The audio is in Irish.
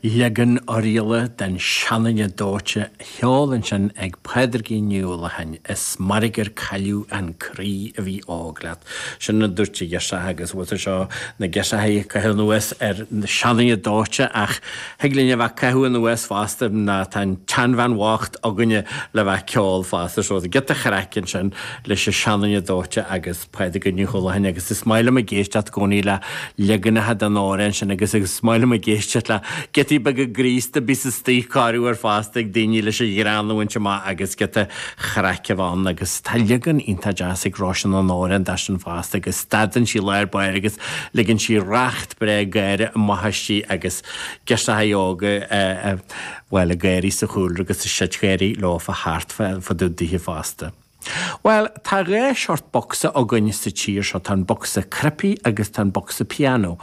Leagan Oirialla den Seanduine Dóite á cheol ansin ag Pádraigín Ní Uallacháin, Is mairg gur cailleadh an croí a bhí óg leat. Sin a dúirt an ghirseach agus bhuel seo na girseachaí ag caitheamh anuas ar Seanduine Dóite ach thig linn a bheith ag caitheamh anuas fosta ná tá an tseanbhean bhocht againne le bheith ag ceol fosta so giota chraic ansin leis an Seanduine Dóite agus Pádraigín Ní Uallacháin agus is maith liom ag éisteacht i gcónaí le leaganacha den amhrán sin agus is maith liom ag éisteacht le giotaí beaga graosta bíos istigh corruair fosta ag daoine leis an ghreann a bhaint amach agus giota chraic a bheith ann agus tá leagan iontach deas ag Róisín an amhrán de sin fosta agus stadann sí lár báire agus ligeann sí racht breá gáire amach aisti agus girseachaí óga bhuel ag gáirí sa chúlra agus ag seitgháirí leofa thart fá dtaobh dithe fosta. Bhuel, tá dhá short bocsa againn sa tír seo, tá an bocsa cnaipí agus tá an bocsa pianó.